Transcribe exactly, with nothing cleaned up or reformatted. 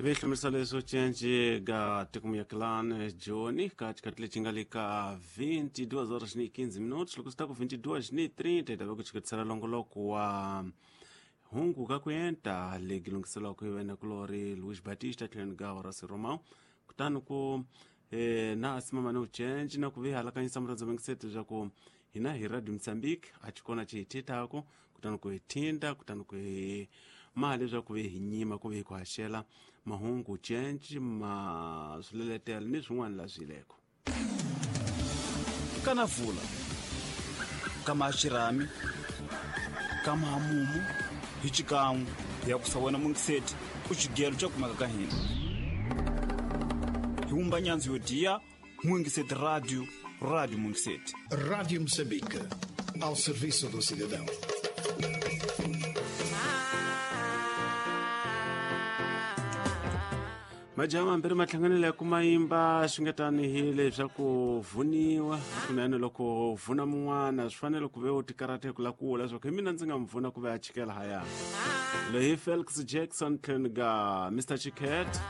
Hi hlamusela leswo cinci ga tikumuyakilani Joni ka xikhathi lexi nga le ka vinte e duas horas ni quinze minutos. Loko swi ta ku vinte e duas ni trinta, hi ta va ku chiketisela longoloko wa hungu ka kuenta legi lunghiselaka hi wena kulori Luis Batista tlhelo ga Horace Romão. Kutani ku eh, na asimama ni ucenci na ku vi halakanyisa murhandzu mengiseti swa hina hi Radio Mozambique a xi kona xi hi thethako, kutani ku hi thinda, kutani ku hi mali leswaku vi hi nyima ku vi hi ku haxela mahungu cinci ma swileletelo ni swin'wana la swileko. Kana vula kama xirhami kama hamumu hi xikan'we ya ku sa wena mungiseti u xigelo xa kumeka ka hina hi wumba nyandzu yo diya Mungiseti Radio, Radio Mungiseti. Rádio Moçambique, ao serviço do cidadão. Majaha mambirhi ma hlanganile ya kuma yimba swi nga tanihi leswaku vhuniwa kunene. Loko vhuna mun'wana swi fanele ku ve u tikarhata ku la kula leswaku hi mina ndzi nga mi vhuna ku ve a chikela haya. Leyi Felix Jackson tlhelo ga Mister Chiket.